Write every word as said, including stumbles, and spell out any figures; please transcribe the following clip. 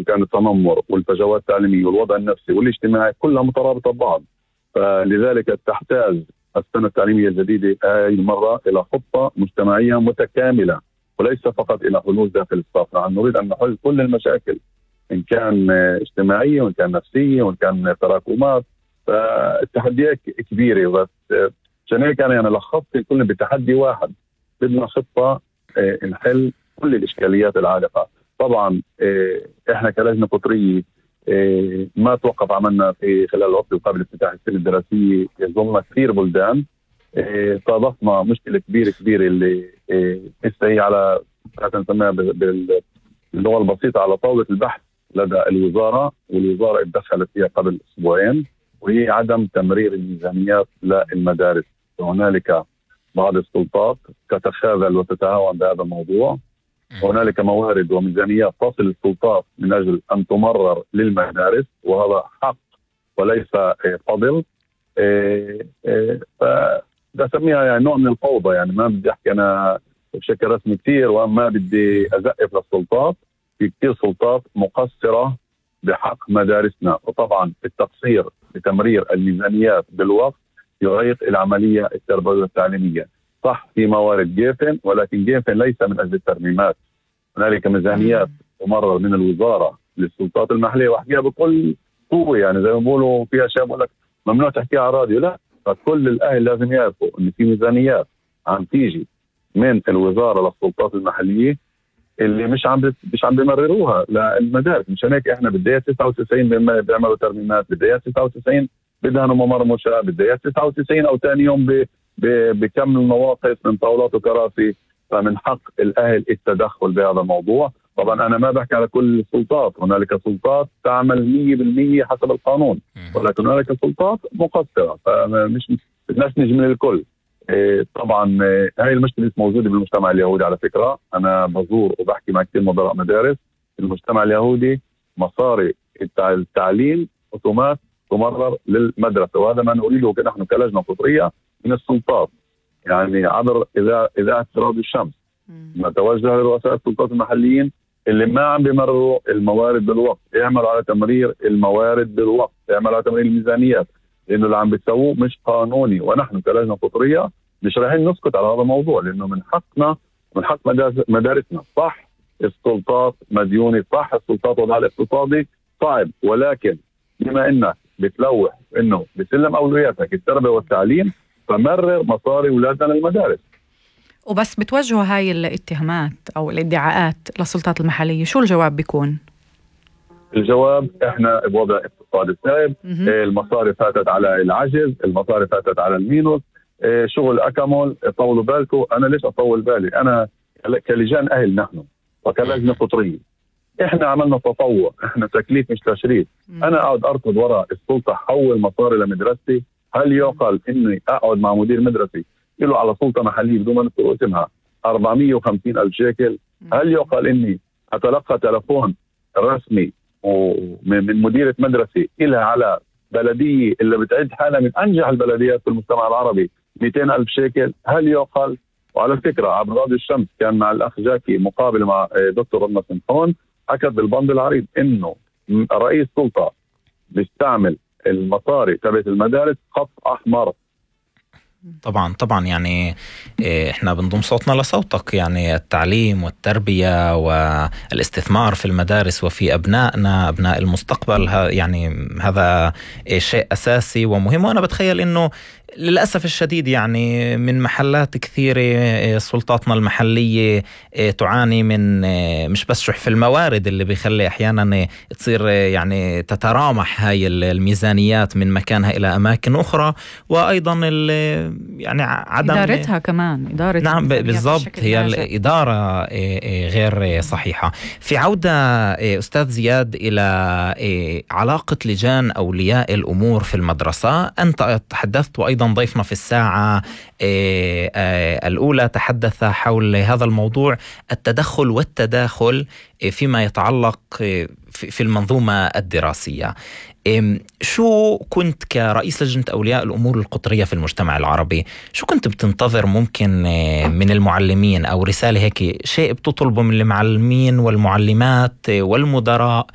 وإن كان التنمر والفجوات التعليمية والوضع النفسي والاجتماعي كلها مترابطة ببعض. فلذلك تحتاج السنة التعليمية الجديدة هذه المرة إلى خطة مجتمعية متكاملة، وليس فقط إلى حلول داخل الصف. نحن نريد أن نحل كل المشاكل إن كان اجتماعية وإن كان نفسية وإن كان تراكمات. فالتحديات كبيرة، بس عشان هيك أنا لخصت كلنا بتحدي واحد، بدنا خطة نحل كل الإشكاليات العالقة. طبعا إحنا كلجنة قطرية ما توقف عملنا في خلال الوقت قبل افتتاح السنة الدراسية، يظلنا كثير بلدان. صادفنا مشكلة كبيرة كبيرة اللي لسه هي على نسميها باللغة البسيطة على طاولة البحث لدى الوزارة، والوزارة اتدخلت فيها قبل أسبوعين، وهي عدم تمرير الميزانيات للمدارس. وهنالك بعض السلطات تتخاذل وتتهاون بهذا الموضوع. هنالك موارد وميزانيات تصل السلطات من أجل أن تمرر للمدارس، وهذا حق وليس فضل. فبسميها يعني نوع من الفوضى. يعني ما بدي أحكي أنا بشكل رسمي كتير وما بدي أزقف للسلطات، في كتير سلطات مقصرة بحق مدارسنا. وطبعا التقصير بتمرير الميزانيات بالوقت يعيق العملية التربوية والتعليمية. صح في موارد جيفن، ولكن جيفن ليس من أجل الترميمات. هنالك ميزانيات تمرر من الوزارة للسلطات المحلية، وأحكيها بكل قوة. يعني زي ما بيقولوا في أشياء بقول لك ممنوع تحكيها على الراديو، لا، فكل الأهل لازم يعرفوا إن في ميزانيات عم تيجي من الوزارة للسلطات المحلية اللي مش عم مش عم بيمرروها للمدارس. مشان هيك احنا بدايات تسعة وتسعين بيعملوا ترميمات، بدايات تسعة وتسعين بدها ممرمشة، بدايات تسعة وتسعين او ثاني يوم بكمل نواقص من طاولات وكراسي. فمن حق الاهل التدخل بهذا الموضوع. طبعا انا ما بحكي على كل السلطات، هنالك سلطات تعمل مية بالمية حسب القانون، ولكن هنالك سلطات مقصرة، فمش بدناش نجمل الكل. طبعا هاي المشكلة موجودة بالمجتمع اليهودي. على فكرة أنا بزور وبحكي مع كثير مدراء مدارس. المجتمع اليهودي مصاري التعليم أوتومات تمرر للمدرسة، وهذا ما نريده نحن كلجنة قطرية من السلطات. يعني عبر إذا إذاعة راديو الشمس نتوجه لرؤساء السلطات المحليين اللي ما عم بيمرروا الموارد بالوقت، يعملوا على تمرير الموارد بالوقت، يعملوا على تمرير الميزانيات، لأنه اللي عم بتسووه مش قانوني. ونحن كلجنة قطرية مش رايحين نسكت على هذا الموضوع، لأنه من حقنا من حق مدارسنا. صح السلطات مديونة، صح السلطات وضعها الاقتصادي صعب، ولكن بما إنك بتلوح إنه بسلم أولوياتك التربية والتعليم، فمرر مصاري أولادنا للمدارس. وبس بتوجهوا هاي الاتهامات أو الادعاءات للسلطات المحلية، شو الجواب بيكون؟ الجواب احنا بوضع اقتصادي صعب، المصاري فاتت على العجز، المصاري فاتت على المينوس، شغل أكمل. طولوا بالكم. أنا ليش أطول بالي؟ أنا كلجان أهل نحن وكلجنة قطرية احنا عملنا تطوع، احنا تكليف مش تشريف. أنا أقعد أركض وراء السلطة حول مصاري لمدرستي؟ هل يعقل إني أقعد مع مدير مدرسي له على سلطة محلية بدون ما نذكر اسمها أربعمية وخمسين ألف شيكل؟ هل يعقل إني أتلقى تلفون رسمي ومن مديرة مدرسة إلها على بلدية اللي بتعد حالها من أنجح البلديات في المجتمع العربي مئتين ألف شيكل؟ هل يعقل؟ وعلى فكرة عبر راديو الشمس كان مع الأخ جاكي مقابل مع دكتور رنا سمحون، حكت بالبند العريض إنه رئيس سلطة بيستعمل المصاري تبعت المدارس خط أحمر. طبعا طبعا يعني احنا بنضم صوتنا لصوتك. يعني التعليم والتربية والاستثمار في المدارس وفي أبنائنا أبناء المستقبل، يعني هذا شيء أساسي ومهم. وأنا بتخيل إنه للأسف الشديد يعني من محلات كثيرة سلطاتنا المحلية تعاني من مش بس شح في الموارد اللي بيخلي أحيانا تصير يعني تترامح هاي الميزانيات من مكانها إلى أماكن أخرى، وأيضا يعني عدم إدارتها كمان إدارة. نعم بالضبط، هي الإدارة غير صحيحة. في عودة أستاذ زياد إلى علاقة لجان أولياء الأمور في المدرسة، أنت تحدثت وأيضا ضيفنا في الساعة الأولى تحدث حول هذا الموضوع، التدخل والتداخل فيما يتعلق في المنظومة الدراسية. شو كنت كرئيس لجنة أولياء الأمور القطرية في المجتمع العربي، شو كنت بتنتظر ممكن من المعلمين، أو رسالة هيك شيء بتطلبه من المعلمين والمعلمات والمدراء